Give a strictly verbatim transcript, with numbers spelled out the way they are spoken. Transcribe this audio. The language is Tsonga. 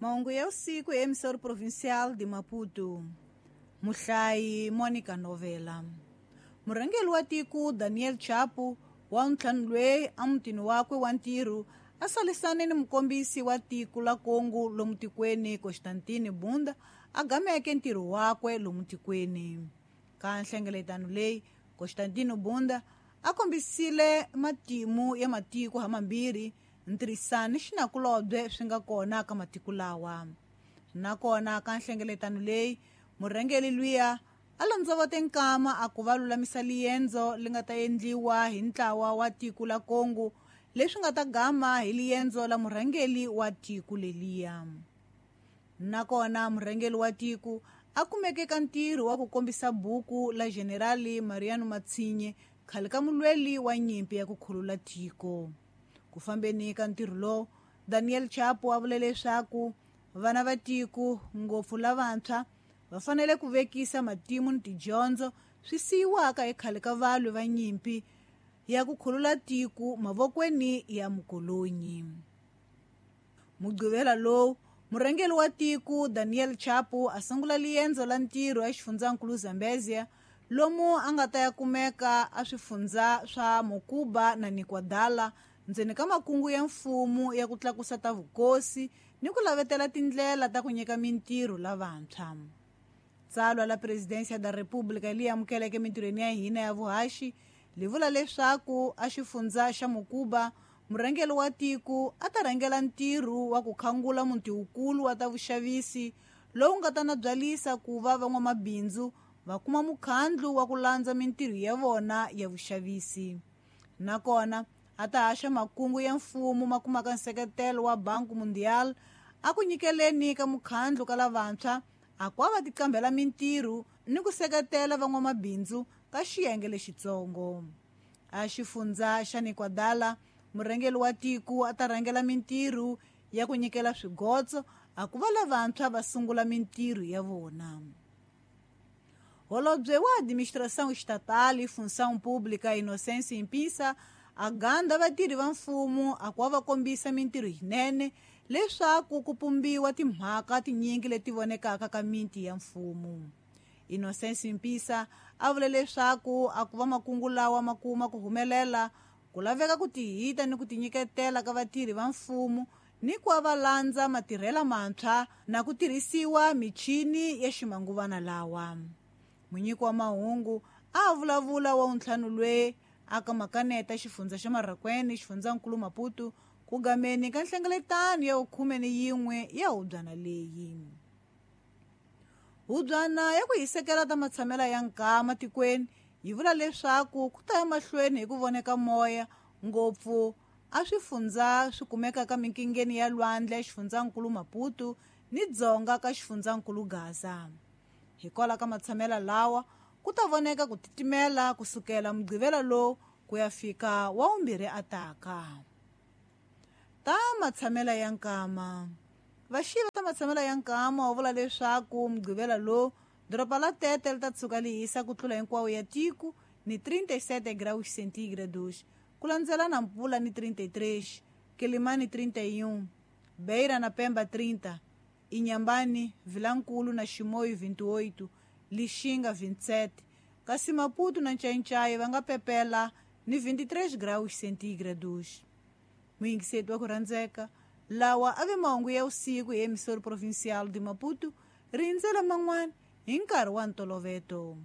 Mahungu ya usiku ya emissora provincial de Maputo. Muhlayi Monica Novela. Murhangeri wa tiko Daniel Chapo wa ntlhanu loyi emutini wakwe wa ntirho a salisane ni mukombisi wa tiko la Kongo lomu tikweni Constantine Bunda a gameke ntirho wakwe lomu tikweni. Ka nhlengeletano leyi Constantine Bunda a kombisile matimu ya matiko hamambirhi ntirhisano ni xinakulobye swi nga kona ka matiko lawa. Nakona ka nhlengeletano leyi murhangeri luya a landzovote nkama a ku va lulamisa liendzo li nga ta endliwa hi ntlawa wa tiko la Kongo leswi nga ta gama hi liendzo la murhangeri wa tiko leliya. Nakona murhangeri wa tiko a kumeke ka ntirho wa ku kombisa buku la Generali Mariano Matsinhe khale ka mulweli wa nyimpi ya ku khulula tiko. Ku fambeni ka ntirho lowu Daniel Chapo a vule leswaku vana va tiko ngopfu lavantshwa va fanele ku vekisa matimu ni tidyondzo swi siyiwaka ekhale ka valwi va nyimpi ya ku khulula tiko mavokweni ya mukolonyi. Mugqivela lowu murhangeri wa tiko Daniel Chapo a sungula liendzo la ntirho exifundzankulu Zambezia lomu a nga ta ya kumeka a swifundza swa Mokuba na Nikwadala ndzeni ka makungu ya mfumo ya ku tlakusa ta vukosi ni ku lavetela tindlela ta ku nyika mintirho lavantshwa. Tsalwa la Presidência da República leyi amukeleke mintirhweni ya hina ya vuhaxi li vula leswaku a xifundza xa Mokuba murhangeri wa tiko a ta rhangela ntirho wa ku khangula muti wukulu wa ta vuxavisi lowu nga ta nabyalisa ku va van'wamabindzu va kuma mukhandlu wa ku landza mintirho ya vona ya vuxavisi. Nakona a ta haxa makungu ya mfumo ma kumaka nseketelo wa Banco Mundial a ku nyikeleni ka mukhandlu ka lavantshwa a ku va tiqambela mintirho ni ku seketela van'wamabindzu ka xiyenge lexitsongo. A xifundza xa Nikwadala murhangeri wa tiko a ta rhangela mintirho ya ku nyikela swigotso a ku va lavantshwa va sungula mintirho ya vona. Holobye wa Administração Estatal e Função Pública Inocêncio Impissa a ganda vatirhi va mfumo a ku va kombisa mintirho yinene leswaku ku pumbiwa timhaka tinyingi leti vonekaka ka miti ya mfumo. Inocêncio Impissa a vule leswaku a ku va makungu lawa ma kuma ku humelela ku laveka ku tihita ni ku tinyiketela ka vatirhi va mfumo ni ku va landza matirhela mantshwa na ku tirhisiwa michini ya ximanguvana lawa. Munyiki wa mahungu a vulavula wa ntlhanu lwe aka makaneta xifundza xa Marraquene xifundzankulu Maputo ku gameni ka nhlengeletano ya khume ni yin'we ya hubyana leyi. Hubyana ya ku hisekela ta matshamela ya nkama tikweni yi vula leswaku ku ta ya mahlweni hi ku voneka moya ngopfu a swifundza swi kumekaka minkingeni ya lwandle xifundzankulu Maputo ni dzonga ka xifundzankulu Gaza. Hikwalaho ka matshamela lawa ku ta voneka ku titimela kusukela mugqivela lowu ku ya fika wa vumbirhi ataka. Ta matshamela ya nkama. Vaxiva ta matshamela ya nkama wa vula leswaku mugqivela lowu doroba la Tete li ta tshuka li hisa ku tlula hinkwawo ya tiko ni trinta e sete graus centígrados, ku landzela Nampula ni trinta e três, Quelimane trinta e um, Beira na Pemba trinta, Inhambane, Vilankulo na Chimoio vinte e oito, Lixinga vinte e sete, kasi Maputo na Nchainchai va nga pepela ni vinte e três graus centígrados. Muyingiseti wa ku rhandzeka, lawa a ve mahungu ya usiku hi emissora provincial de Maputo, rindzela man'wana hi nkarhi wa ntoloveto.